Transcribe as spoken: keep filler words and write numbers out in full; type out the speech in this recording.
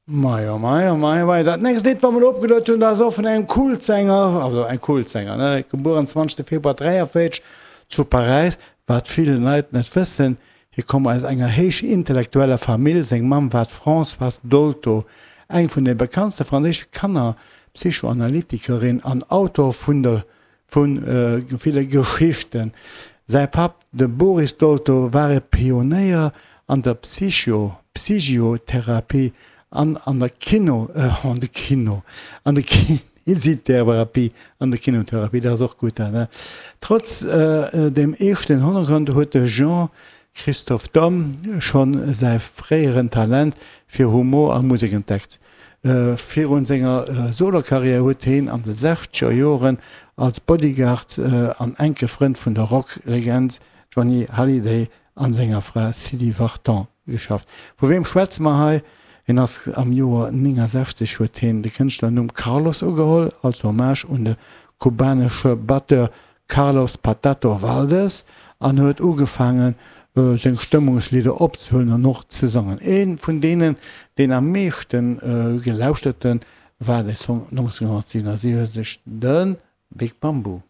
Majo, majo, majo, majo. Dat nächst Lidd, wat mer elo opgeluet hunn, dat ass och vun engem Kultsänger, also eng Kultsänger, ne, gebuer am zwanzegste Februar dräiavéierzeg zu Paräis. Wat vill Leit net wëssen, hie koum aus enger héich intellektueller Famill. Seng Mamm war d'Françoise Dolto, eng vun de bekanntste franséische Kanner-Psychoanalytikerin an Autor vun der Vu ville Geschichten. Säi Papp, de Boris Dolto, war e Pionéier an der Psycho Psychiotherapie an an der Kino an de Kino an der Kinesitherapie an der Kinotherapie, dat ass och gutt dat, ne? Trotz dem eeschten Hannergrond huet de Jean Christophe Daum schonn säi fréieren Talent fir Humor a Musek entdeckt. Virun senger Solokarriär huet heen an de sechzeger Joren als Bodyguard an enke Frënd vun der Rock-Legend Johnny Hallyday an senger Fra Sylvie Vartan geschafft. Vu weem schwätze mer hei? Hien ass am Joer néngensechzeg huet heen de Kënschtlernumm Carlos ugeholl, als Hommage un de kubanesche Batteur Carlos Patato Valdes an huet ugefaangen seng Stëmmungslidder opzehuelen an och ze sangen. Ee vun deenen, deen am meeschte gelauschterten, war de Song nonzénhonnertsiwenundsiwwenzeg, de Big Bamboo.